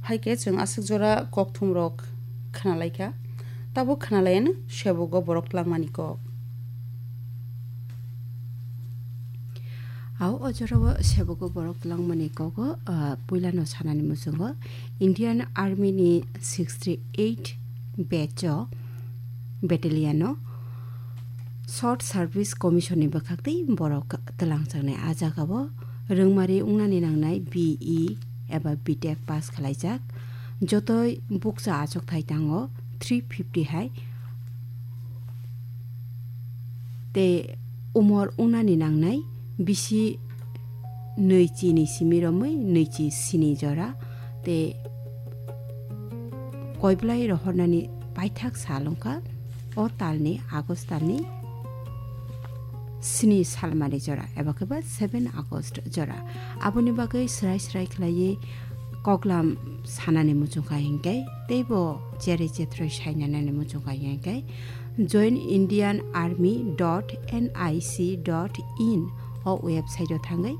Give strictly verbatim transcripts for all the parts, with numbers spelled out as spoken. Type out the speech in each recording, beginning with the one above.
Hai khe chwng aswk jora kokthumrok khna lai kha. Tabuk khna lai anw sebogo borok twlangmani kok. Ao o jorao sebogo borok twlangmani kogo, ah, puilano sanani muchungo Indian Army ni sixty eight batch o, battalion o Short Service Commission ni bwkhaktwi borok twlangjaknai. A jagao rwngmari wngnani nangnai B E eba B Tech pass khwlaijak. Jotoi bukcha achukthai tango three fifty hai. Tei umor wngnani nangnai bisi nwichi ni simi romwi nwichi sini jora. Tei koiblai rohornani paithak sal wngkha o talni August talni sini salmari jora eba khe ba seven August jora. Aboni bagwi srai srai khlaiwi koklam sanani muchungkha hinkhe teibo cherwi chethrwi sainanani muchungkha hinkhe join Indian Army dot N I C dot in o website o thangwi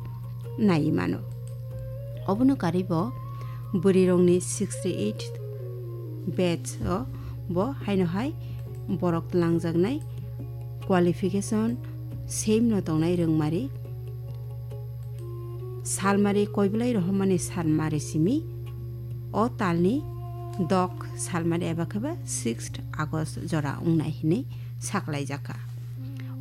naiwi mano. Obono karwi bo bwrwirokni sixty eight batch o bo haino hai borok twlangjaknai qualification same no tongnai rwngmari salmari koiblai rohormani salmari simi o talni dok salmari eba khe ba sixth August jora wngnai hinwi saklaijak kha.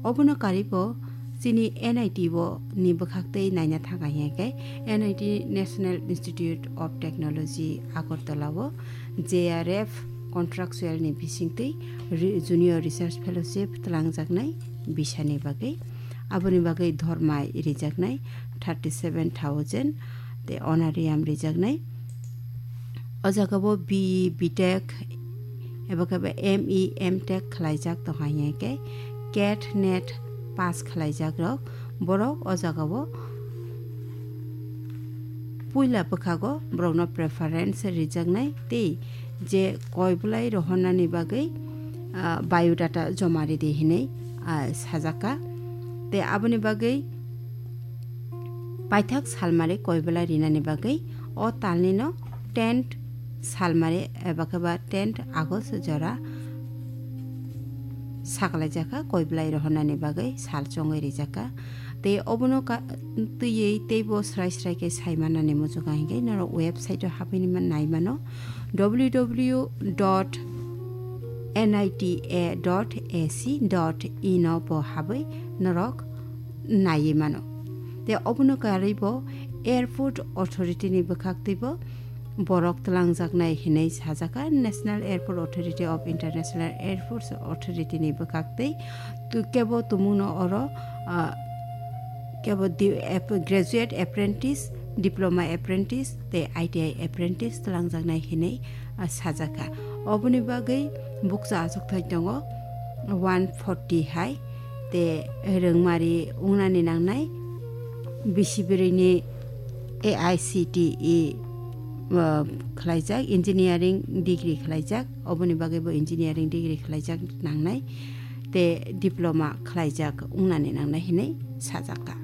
Obono karwi bo chini N I T bo ni bwkhaktwi naina thangkha hinkhe N I T National Institute of Technology Agartala o J R F contractual ni bisingtwi re-, Junior Research Fellowship twlangjaknai bisani bagwi. Aboni bagwi dhormai rijaknai thirty seven thousand tei honorarium rijaknai. O jagao B E, B Tech eba khe ba M E, M Tech khwlaijak tongkha hinkhe cat, net pass khwlaijak rok borok o jagao puila bwkhago borokno preference rijaknai tei je koiblai rohornani bagwi, ah, biodata joma ridi hinwi, ah, sajak kha. Tei aboni bagwi paithak salmari koiblai rinani bagwi o talnino tenth salmari eba khe ba tenth August jora saklaijak kha, koiblai rohornani bagwi sal chongwi rijak kha. Tei obono ka-, twiwi teibo srai srai khe sai manani muchungo hinkhe norok website o habwi nai mano, W W W dot N I T A dot A C dot in o bo habwi norok naiwi mano. Tei obono karwi bo Airport Authority ni bwkhaktwi bo borok twlangjaknai hinwi sajak kha National Airport Authority of International Airports Authority ni bwkhaktwi. Tu-, kebo tumungno oro, ah, kebo di-, ap-, graduate apprentice, diploma apprentice tei I T I apprentice twlangjaknai hinwi, ah, sajak kha. Oboni bagwi bukcha achukthai tongo one forty hai. Tei rwngmari wngnani nangnai bisi bwrwini A I C T E, uh, khwlaijak, engineering degree khwlaijak, oboni bagwi bo engineering degree khwlaijak nangnai, tei diploma khwlaijak wngnani nangnai hinwi sajak kha.